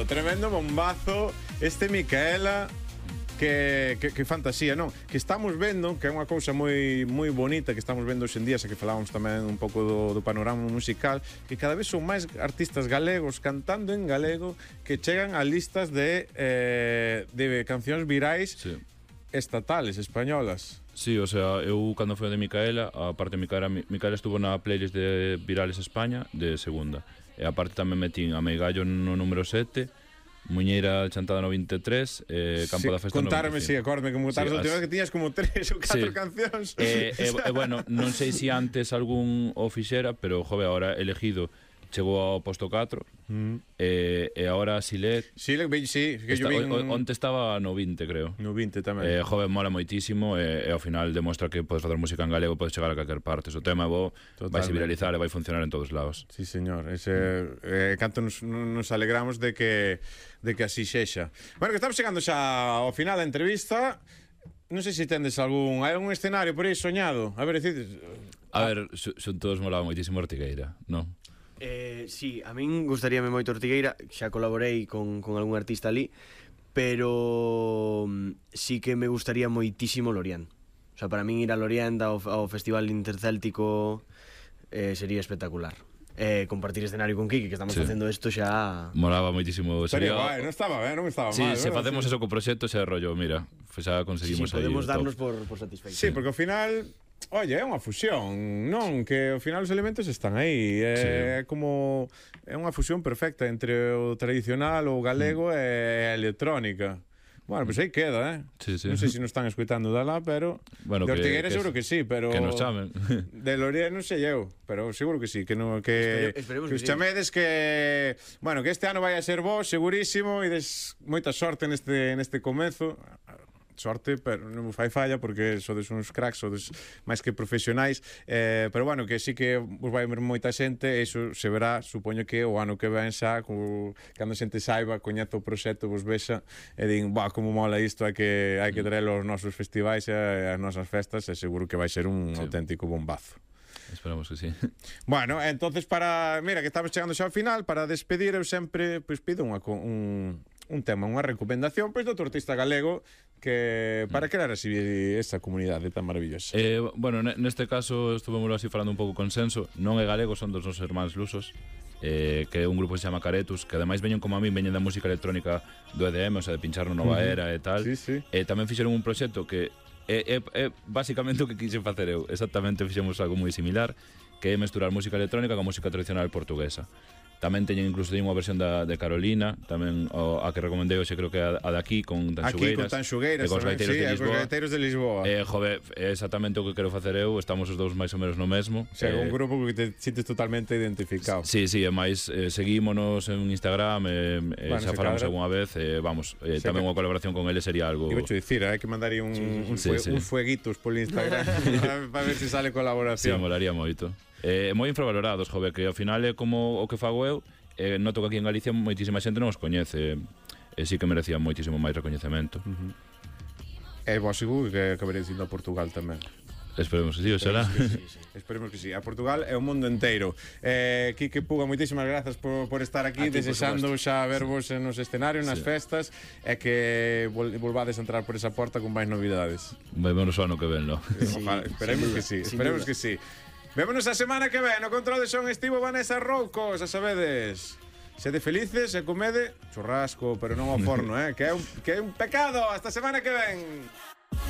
Tremendo bombazo. Este Micaela, que fantasía, non? Que estamos vendo, que é unha cousa moi bonita que estamos vendo hoxe en día, xa que falábamos tamén un pouco do panorama musical, que cada vez son máis artistas galegos cantando en galego que chegan a listas de cancións virais estatales, españolas. Sí, o sea, eu cando foi de Micaela, aparte Micaela estuvo na playlist de Virales España de segunda. E aparte tamén metín a Meigallo no número 7, Muñeira chantada no 23, Campo da Festa no 25. Contarme, acórdame que montaron a última vez que tiñas como 3 ou 4 cancións. Bueno, non sei se antes algún o fixera, pero, jove, ahora elegido chegou ao posto 4 e agora Silet que yo vi onte estaba no 20, creo. No 20 tamén. Joven, mola moitísimo e ao final demostra que podes facer música en galego, podes chegar a calquer parte. O tema é bo, vai se viralizar e vai funcionar en todos lados. Sí, señor. Canto nos alegramos de que así sexa. Bueno, que estamos chegando xa ao final da entrevista. Non sei se tendes algún escenario por aí soñado. A ver, son todos molaba moitísimo Ortigueira, non? Sí, a min gustaríame moito Ortigueira. Xa colaborei con algún artista ali, pero sí que me gustaría moitísimo Lorient. O sea, para min ir a Lorient ao Festival Intercéltico sería espectacular. Compartir escenario con Kiki, que estamos facendo isto xa... Molaba moitísimo. Pero guai, non estaba mal. Sí, se facemos eso co proxecto xa rollo, mira, xa conseguimos aí. Podemos darnos por satisfeitos. Sí, porque ao final... Oye, é unha fusión, non? Que ao final os elementos están aí. É como... É unha fusión perfecta entre o tradicional, o galego e a electrónica. Bueno, pois aí queda, Sí. Non sei se nos están escuitando de lá, pero... Bueno, de Ortigueira seguro que sí, pero... Que nos chamen. De Lorient non sei eu, pero seguro que sí, que os chamedes que... Bueno, que este ano vai a ser vos, segurísimo, e des moita sorte neste comezo. Sorte, pero non me fai falla porque sodes uns cracks, sodes máis que profesionais, pero bueno, que sí que vos vai ver moita xente, e iso se verá, supoño que o ano que ven xa, cando a xente saiba, coñezo o proxecto, vos vexa e din, como mola isto, hai que traelo aos nosos festivais e as nosas festas, e seguro que vai ser un auténtico bombazo. Esperamos que sí. Bueno, entonces mira, que estamos chegando xa ao final, para despedir eu sempre pido un tema, unha recomendación do outro artista galego que para crear así esa comunidade tan maravillosa. Bueno, neste caso estuvemos así falando un pouco consenso. Non é galego, son dos nosos irmáns lusos, que é un grupo que se chama Caretus, que ademais veñen como a mí, veñen da música electrónica do EDM, o sea, de pinchar no Nova Era e tal. Sí. Tamén fixeron un proxecto que é basicamente o que quixen facer eu. Exactamente, fixemos algo moi similar, que é mesturar música electrónica con música tradicional portuguesa. Tamén teñen incluso unha versión de Carolina, tamén a que recomendei hoxe, creo que a de aquí con Tanxugueiras. Aquí con Tanxugueiras, e cos gaiteiros de Lisboa. Jove, é exactamente o que quero facer eu, estamos os dous máis ou menos no mesmo. O sea, un grupo que te sintes totalmente identificado. Sí, e máis seguímonos en Instagram, xa falamos algunha vez, tamén unha colaboración con eles sería algo... Iba a dicir, hai que mandar un fueguitos polo Instagram para ver se sale colaboración. Sí, molaría moito. Moi infravalorados, jove, que ao final é como o que fago eu. Noto que aquí en Galicia moitísima xente non os coñece, e sí que merecían moitísimo máis recoñecemento. E vos seguro que acabaréis indo a Portugal tamén. Esperemos que sí, o será. Sí. Esperemos que sí. A Portugal é o mundo inteiro. Quique Puga, moitísimas grazas por estar aquí, desexando xa vervos nos escenarios, nas festas, e que volvades a entrar por esa porta con máis novidades. Vai menos o ano que ven, no? Esperemos que sí. Vémonos a semana que ven. No control de son estivo Vanessa Roucos, a sabedes. Sede felices e comede churrasco, pero non ao forno, que é un pecado. Hasta semana que ven.